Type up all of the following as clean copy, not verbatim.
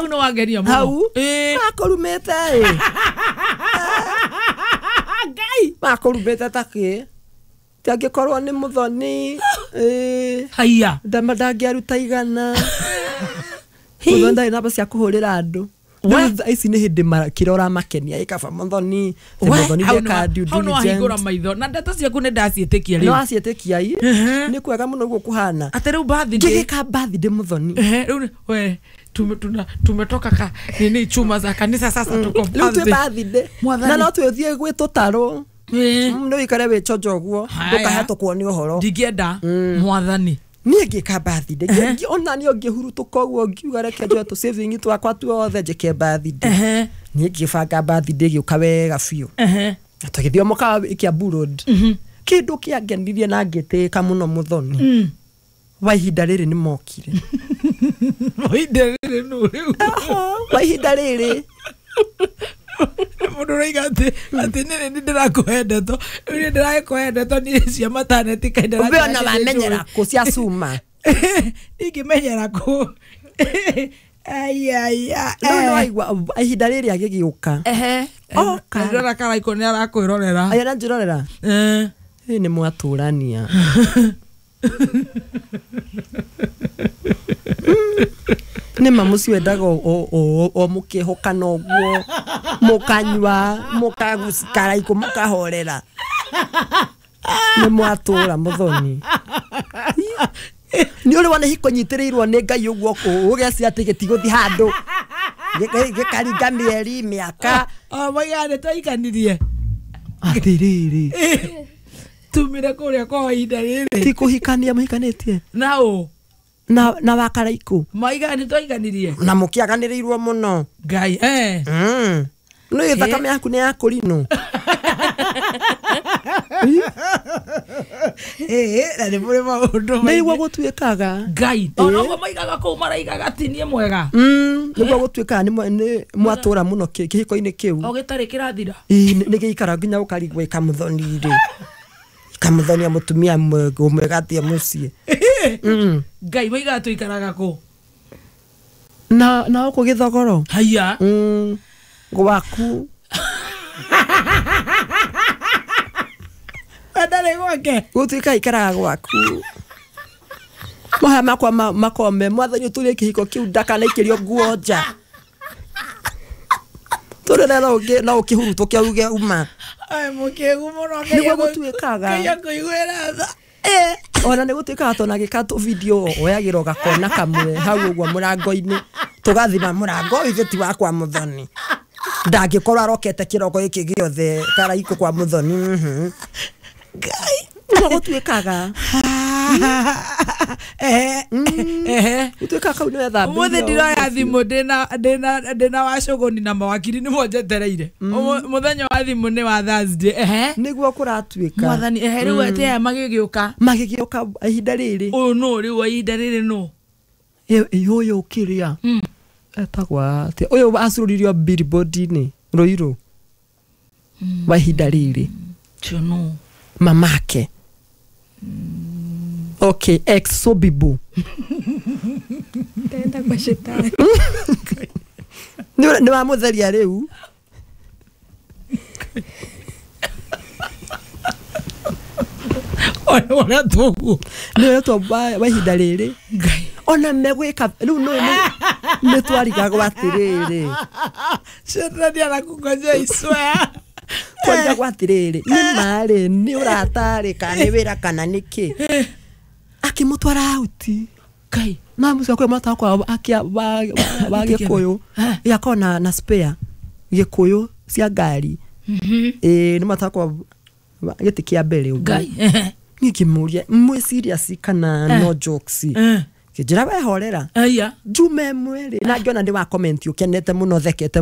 Hau nĩ wangenia mũno. Hau Ĩĩ. Makũrumĩte ĩ. Ngai. Makũrumĩte ta kĩ? Ti angĩkorwo nĩ mũthoni ĩ, Haiya. ndangĩaruta 100. Mũthoni ndarĩ namba cia kũhũrĩra andũ. We. Rĩu thaa ici nĩ hĩndĩ kĩrĩa ũramakenia ĩ kaba mũthoni. Ti We, mũthoni hau ndeka due hau nĩ wahingũra diligence. maitho na ndeto ciaku nĩ ndaciĩtĩkia Nĩ rĩu. waciĩtĩkia i? Ehe. Nĩ kwega mũno ũguo kũhana. Atĩ rĩu birthday. Ngĩgĩka birthday mũthoni. Ehe, rĩu we tumetoka ka nini chuma za kanisa sasa tuko Rĩu twĩ birthday. birthday. Mwathani. Na no twĩthiĩ gwĩ tũtarũ. Ĩĩ. Nĩ ũikare wĩ chonjo ũguo. Haya. Ndũkahetũkwo nĩ ũhoro. Ndingĩenda mwathani. Niĩ ngĩka birthday. Ona niĩ ngĩhurutũka ũguo ngiuga reke njoe tũ saving twakwa tuothe njĩke birthday. Ehe. Niĩ ngĩbanga birthday ĩgĩũka wega biũ. Ehe. Na tũgĩthiĩ o mũkawa Kiambu Road. Kĩndũ kĩangenirie na ngĩtĩĩka mũno mũthoni. Wa ihinda rĩrĩ nĩ mokire. Wa ihinda rĩrĩ nũ rĩu? Wa ihinda rĩrĩ. Mũndũ ũroiga atĩ nĩ nĩ ndĩrakũhe ndeto. Rĩu nĩ ndĩrakũhe ndeto niĩ cia maternity kahinda Ũbe ona wamenyera kũ cia cuma. Ingĩmenyera kũ? Ai, ai, ai. Rĩu nĩ waigua ihinda rĩrĩ agĩgĩũka. Ehe. Oka. Ndĩrona Karaikũ nĩ arakwĩrorera. Aya aranjĩrorera. Eh. Ĩ nĩ mwatũrania. Nĩ ma mũciĩ wendaga o mũkĩhũkana ũguo, mũkanyua, mũkaraikũ, mũkahorera. Nĩ mwatũra mũthoni. Nĩ ũrĩ wona hiko nyitĩrĩirwo nĩ Ngai ũguo ũgeci atĩ gĩtigũthiĩ handũ. Gĩkaringa mĩeri, mĩaka. O moigaga nĩ twaikanirie. Atĩrĩrĩ. Tumire kũrĩa kwa ihinda rĩrĩ. Ti kũhikania mũhikanĩtie? Na ũ? Na wakaraikũ. Moigaga nĩ twaikanirie. Na mũkĩaganĩrĩirwo mũno. Ngai, eh. Nĩ thakame yaku nĩ ya kũrinũ. Ĩĩ, na nĩ mũrĩ maũndũ maingĩ. Nĩguo gũtuĩkaga. Ngai. O noguo maigaga kũu maraigaga ti niĩ mwega. Nĩguo gũtuĩkaga nĩ mwatũra mũno kĩhiko-inĩ kĩu. O gĩtarĩ kĩrathira. Ĩĩ, nĩ gĩikara nginya ũkarigwo ĩkamũthoni rĩ. Ĩkamũthonia mũtumia mwega atĩa mũciĩ. Ngai, maigaga tũikaraga kũ? Na gũkũ Gĩthogoro. Haiya. Gwaku. Ndarĩ gwake. Gũtuĩka ikaraga gwaku. Mahaya makwa makome mwathani ũtũrie kĩhiko kĩu ndakanaikĩrio nguo nja. Tũrĩre no ũkĩhurutũke uge uma. Ai, mũkĩgu mũno, Ngai Nĩguo gũtuĩkaga. Ngai akũiguĩra tha. Ona nĩ gũtuĩkaga tondũ agĩka tũ video oyagĩra ũgakona kamwe hau ũguo mũrango-inĩ. Tũgathima mũrango ũyũ ithe ti wakwa mũthoni. Ndangĩkorwo arokete kĩroko gĩkĩ gĩothe Karaikũ kwa mũthoni. Ngai. Nĩguo gũtuĩkaga. Ehe. Ehe. Gũtuĩkaga kau nĩ wethambĩire Ũmũthĩ o ndiroya ũguo. thimũ ndĩna wacũgũni na mawakiri nĩmo njetereire. Mũthenya wa thimũ nĩ wa Thursday. Ehe. Nĩguo kũratuĩka. Mwathani, ehe, rĩu atĩ aya magĩgĩũka. Magĩgĩũka ihinda rĩrĩ. Ũyũ nũ rĩu wa ihinda rĩrĩ nũ? Ĩ, ũyũ kĩrĩa. Etagwo atĩa? Ũyũ acũrũririo billboard-inĩ Ruiru. Wa ihinda rĩrĩ. Ũcio nũ? Mamake. Okay, ex Sobibu. Ndenda kwa shetani. Nĩ wamũtheria rĩu. Ũrĩa tũguo. Nĩ ũretwo wa ihinda rĩrĩ. Ngai. Ona megwĩka rĩu nĩ twarigagwo atĩrĩrĩ. Shetani arakũngojea I swear. Twarigagwo atĩrĩrĩ, nĩ marĩ, nĩ ũratarĩ, kana nĩ wĩra kana nĩ kĩ. Akĩmũtwara out. Ngai. Na mũciĩ wakwa mwata wakwa wa Gĩkũyũ. Yakorwo na spare Gĩkũyũ cia ngari. Ĩĩ, nĩ mwata wakwa gĩtĩ kĩa mbere ũguo. Ngai. Niĩ ngĩmũria, mwĩ serious kana no jokes? Kĩnjĩra we horera. Aya. Njume ĩmwe rĩ, na ngĩona nĩ wa comment ũkenete mũno thekete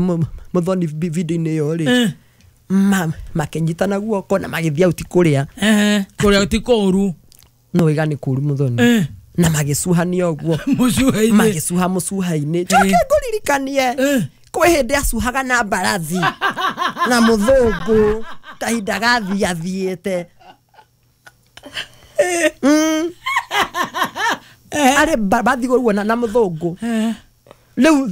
mũthoni video-inĩ ĩyo rĩ. Makĩnyitana guoko na magĩthiĩ out kũrĩa. Kũrĩa ti kũũru. No wĩga nĩ kũũru mũthoni. Na magĩcuhania ũguo. Mũcuha-inĩ. Magĩcuha mũcuha-inĩ. Njoke ngũririkanie. Kwĩ hĩndĩ acuhaga na mbarathi. Na mũthũngũ. Kahinda gathiĩ athiĩte. Arĩ bathiĩ ũguo na mũthũngũ. Rĩu